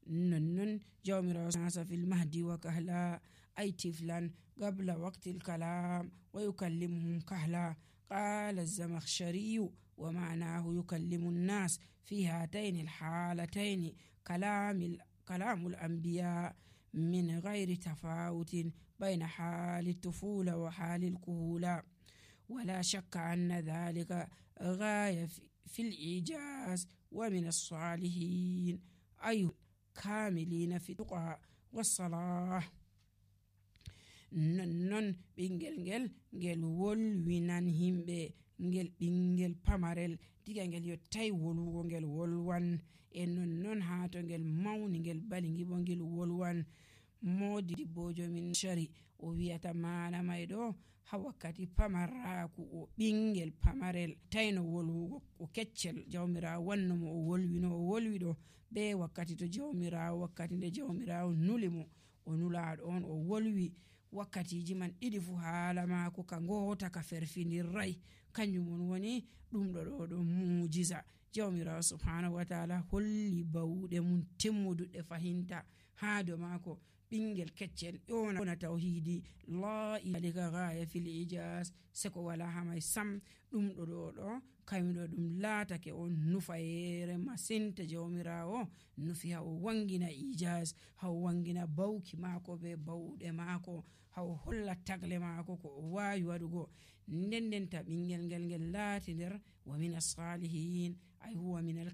nonnon jawmirawo nasa fil mahdi wa kahla ay tiflan qabla waqti al-kalam wa yukallimuhum kahla. قال الزمخشري ومعناه يكلم الناس في هاتين الحالتين كلام الأنبياء من غير تفاوت بين حال الطفولة وحال الكهولة، ولا شك أن ذلك غاية في الإيجاز. ومن الصالحين أي كاملين في التقى والصلاح. nonnon ɓingel ngel wolwinan himɓe, ngel ɓingel pamarel diga ngel yottai wolwugo ngel wolwan, e nonnon ha to ngel mauni ngel balingi bo ngel wolwan. Modi dibbojo min shari o wi'ata mana mai ɗo ha wakkati pamarraku o ɓingel pamarel taino wolwugo o keccel, jawmirawo wanno mo o wolwi no o wolwi ɗo be wakkati to jawmirawo, wakkati nde jawmirawo nuli mo o nulaɗo on o wolwi. wakkatiji man ɗiɗi fu haala mako ka ngota ka ferfinirrai, kanjum on woni ɗum ɗo mujiza. jawmirawo subhanahu wa ta'ala holli bauɗe mum timmuduɗe fahinta ha do mako. ɓingel keccel ƴona tauhidi la ilaha ghaya fil ijaz, seko wala hamai sam. ɗum ɗo kayuɗo ɗum laatake on nufayere masinta jawmirawo nufi ha o wangina ijaz, ha o wangina bauki mako be bauɗe mako, ha o holla tagle mako ko o wawi waɗugo. ndendenta ɓingel ngel laati nder wa min as-salihin ay huwa min